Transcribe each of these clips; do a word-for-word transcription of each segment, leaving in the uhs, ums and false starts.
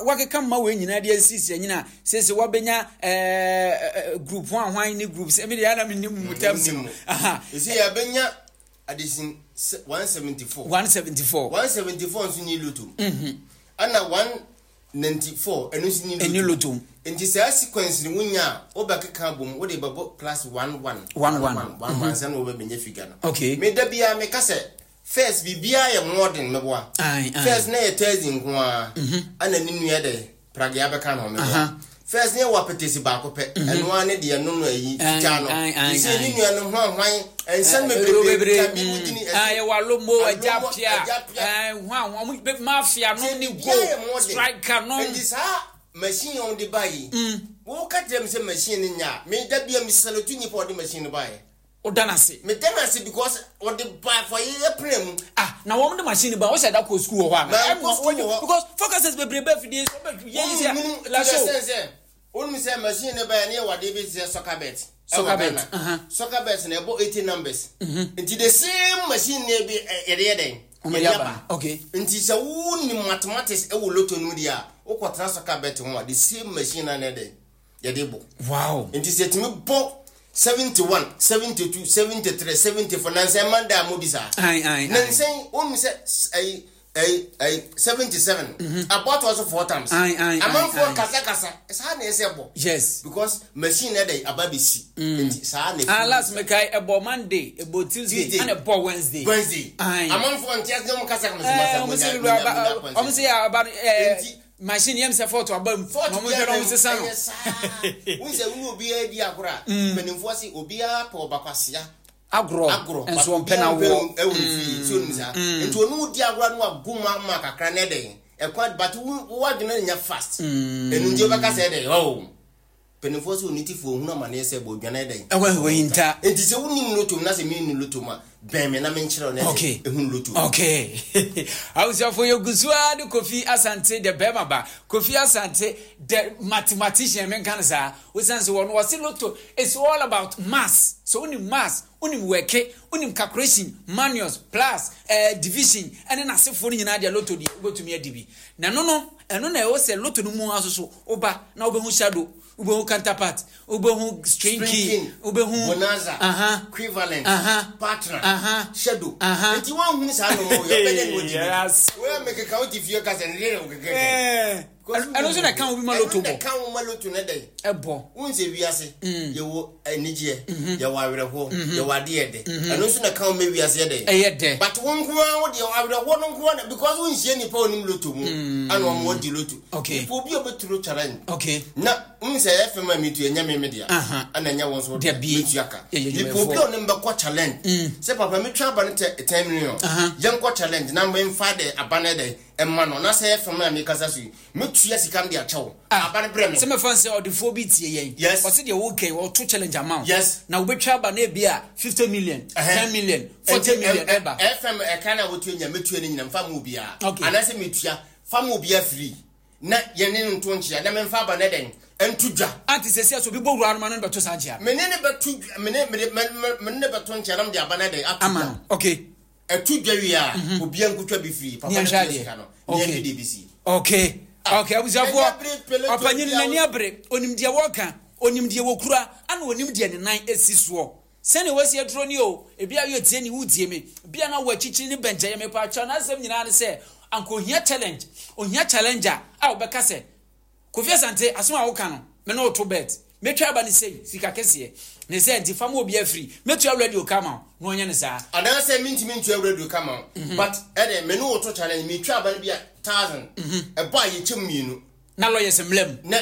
Wa wakeka mma wei nyinaa de asisi anyina sese wabɛnya ɛɛ group one hwan ne group sɛ mi de ana mi nim mu terms no. Aha. Ɛsɛ yɛbɛnya addition one seventy-four. one seventy-four. one seventy-four nso ni lotto, ɛna one ninety-four ɛno nso ni Ɛni lotto. Nti saa sequence ni wonya a, wobɛkeka bom, wode bɛbɔ plus one one One, one. one one sɛ na wobɛbɛnya figure no. Okay. Meda biara meka sɛ first biribiara yɛ modern, meboa? Aye, aye. First na yɛ Thursday nko a, ɛna ne nua de pragea bɛka ne ho, meboa? First ne yɛ wɔ apɛtɛsi baako pɛ, ɛno ara ne deɛ no no ayi Aye, fitaa no. aye, aye, Sɛ ne aye. nua no hwan hwan ɛnsɛm bebree bebree ka bi mu gyini. Ah, yɛwɔ alomo, agya Alomo, pia. Agya Pia. Hwan ɔmo bɛ mafia nom ne Biribiara go yɛ modern. Striker nom. Nti saa machine a wɔde ba yi, wɔka kyerɛ me sɛ machine no nya a, meda bia mesalute nipa a ɔde machine no baeɛ. Ɔda n'ase. Meda no ase because ɔde ba fa yɛyɛ pena mu. Ah, na wɔn de machine ba, wɔhyɛ da kɔ school wɔ hɔ ana? Ma Ɛmu nkɔ school wɔ hɔ. Because forecasters bebree bɛ fidie so ɔbɛ yɛ yi sɛ la so. Sɛ sɛ wonim sɛ machine no baeɛ ne yɛwɔ adeɛ bi te sɛ soccer bet. Soccer Ɛwɔ bet, Ghana. uh-huh. Soccer bet na ɛbɔ eighty numbers, nti the same machine ne bi ɛ- yɛde yɛ dɛn? Wɔn de Yɛde aba. Okay. Nti sɛ wonim mathematics ɛwɔ lotto no mu deɛ a, wokɔtena soccer bet ho a, the same machine na ne dɛn yɛde bɔ. Wow. Nti sɛ tumi bɔ seventy-one, seventy-two, seventy-three, seventy-four, nansɛn manda a modi saa. Ayi ayi ayi. Nansɛn wonim sɛ s- ɛyi ɛyi ɛyi seventy-seven abɔtoɔ so four times. Aye, aye, aye, Amanfoɔ aye. kasakasa saa na ɛsɛ bɔ Yes. because machine na dɛ aba bɛsi, nti saa na Ah, last mekae ɛbɔ Monday, ɛbɔ Tuesday, Tuesday. ɛna ɛbɔ Wednesday. Wednesday. Aye. Amanfoɔ nti ase ɔmo kasa kama Ɛɛ, ɔmo sɛ wura aba, ɔmo sɛ aba no ɛɛ Nti- machine yɛm sɛ fault aba mu na ɔmo hwɛ na ɔmo sesa no. Ɛyɛ saa wohu sɛ wo ne obiara di agorɔ a, mpanimfoɔ se obiara pɛ ɔbakwasea agorɔ agorɔ nso ɔmpɛ na woɔ. ɛwɔ ne fie so onim saa, nti ɔno wo di agorɔ no wago mu ama kakra na ɛdɛn ɛkwan, but wo wo adwene no nyɛ fast, ɛno nti wobɛka sɛ ɛdɛn ɔ mpanimfoɔ sɛ onitifoɔ ohunu amanneɛ sɛ bɔ odwane ɛdɛn. Ɛwɔ ɛwɔ hinta. Nti sɛ wonim lotto na sɛ menni lotto mu a, bɛn me na menkyerɛ wo na Okay. ɛsɛ ɛhunu lotto. Okay, abusuafo, yɛgu so ara de Kofi Asante the bɛrima ba, Kofi Asante the mathematician. Menka no saa wosiane sɛ wɔno wɔse lotto is all about maths. So wonim maths, wonim wɛke, wonim calculation, minus, plus, eh, division ɛne n'asefoɔ no nyinaa deɛ, lotto deɛ wobɛtumi adi bi. Na ɛno no, ɛno na ɛwɔ sɛ lotto no mu aso so woba na wobɛhu shadow, wobɛhu counterpart, wobɛhu string key, wobɛhu bonanza, Aha. equivalent, Aha. partner, Aha. shadow. Aha. Nti woahunu saa no yɛbɛdɛ ne wɔdi. Yes. Woyɛ mekeka wote fie ka sɛ ne wokekeke. Eh, ɛno nso na ɛka wo bi ma lotto bɔ. Ɛka wo ma lotto ne dɛn? Ɛbɔ. Wohu sɛ wiase yɛwɔ anigyeɛ, yɛwɔ awerɛhoɔ, yɛwɔ adeɛ dɛ, ɛno nso na ka wo ma wiase yɛ dɛn? Ɛyɛ dɛ. But wo nko ara wo deɛ, awerɛhoɔ no nko ara na because wonhyia nipa a onim lotto mu ana ɔmo wɔdi lotto. Okay. Nipa obi a ɔbɛturo challenge okay na n sɛ ɛyɛ fɛn a metu ɛnyɛ me me dea, Aha. ɛna ɛnyɛ wɔn nso Dabi. metua ka. Yɛyɛ Nipa obi a ɔne mbɛkɔ challenge sɛ papa metwa aba no tɛ ten million, Aha. yɛnkɔ challenge na memfa de aba no dɛ ɛma no na sɛ ɛyɛ fɛn a mekasa so yi, metua sika no de akyɛw aba no brɛ me. Sɛ mɛfa sɛ ɔdefoɔ bi tie yɛn, Yes. ɔse deɛ wokɛn ɔto challenge ama wo Yes. na wobɛtwa aba no ebi a fifty million, Ɛhɛn. ten million, forty million ɛba. F M ɛka na wotua nya, metua no nyina mfa ma obiara. Okay. Anaasɛ metua fa ma obiara firi na yɛne no nto nkyea na memfa aba no dɛn ɛnto dwa. Ante sɛ sɛ so obi bɔ wura no ma no bɛto saa nkyea. Mene ne bɛto dwa, mene mene mene mene ne bɛto nkyea na mede aba no dɛn ato Ama dwa. no, okay. Ɛto dwa wie a, obiara nkotwa bi firi papa Ne no yɛnhwɛ tua adeɛ. sika no ne Okay. yɛhwɛ deɛ bɛsi. okay okay abusuafoɔ, Ɛnyɛ bere pele to ɔpanyin obiara n'ani abere, onim deɛ wɔka, onim deɛ wɔkura, ana onim deɛ ne nan esi soɔ sɛnea wɔasi aduro ni o. Ebi a yɛ tie ni, wutie mi bia na wɔ akyikyiri ne bɛnkyɛn yɛ mepa atwa n'asɛm nyinaa ne sɛ anka ohia challenge, ohia challenger a wɔbɛka sɛ Kofi Asante, asɛm a woka no, me ne woto bet, mɛtwa aba ne sei sika kɛseɛ ne sɛ nti fam obi afiri mɛtua radio kama wo na ɔnyɛ ne saa. Anaasɛ mentumi ntua radio kama wo, but ɛdɛ me ne wo to challenge, metwa aba no bi a thousand ɛbɔ a, yɛkyɛ mu mmienu. Na lawyers mmerɛ mu. Na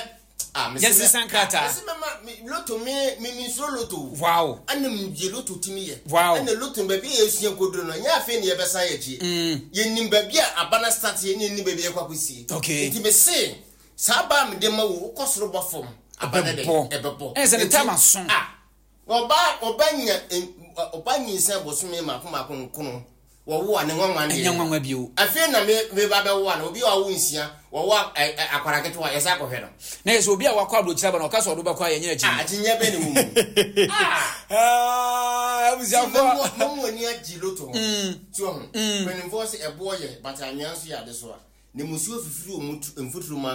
ah, mese Yɛnsesa me- nkrataa. Mese mɛma me- lotto, me me mensuro lotto o. Wow ɛna mgye lotto tumi yɛ. Wow. Ɛna lotto no, baabi a yɛsua koduro no, ɛnyɛ afei ne yɛbɛsan yɛ akyi. Yɛnim baabi a aba no start yɛ ne yɛnim baabi a yɛkɔ akɔsie. Okay. Nti mese saa ba a mede ma wo, wokɔ soro bɔ fam, aba no dɛ Ɛbɛbɔ. ɛbɛbɔ. Ɛyɛ sɛ ne Nti- time aso. Ah, ɔba ɔba nya em, ɔba nyinsɛn bosome mako mako nkono, wɔwo a ne nwanwa deɛ. Ɛnyɛ nwanwa bio. Afei na me me ba bɛwo a, na obi a ɔwo nsia, wɔwo a- ɛ- ɛ- akwara ketewa, yɛsɛ akɔhwɛ no. Na yɛ sɛ obi a wakɔ aburokyire aba na ɔka sɛ ɔde bɛkɔ a, yɛnyɛ akyi. Ah, akyinnye bɛ ne wɔ mu. Ah, abusuafoɔ. Mɔmu ani agye lotto ho tí ɔho mpanimfoɔ sɛ ɛboɔ yɛ, but anwea nso yɛ ade so a ne musuo fifiri wɔ mu mfuturo mu.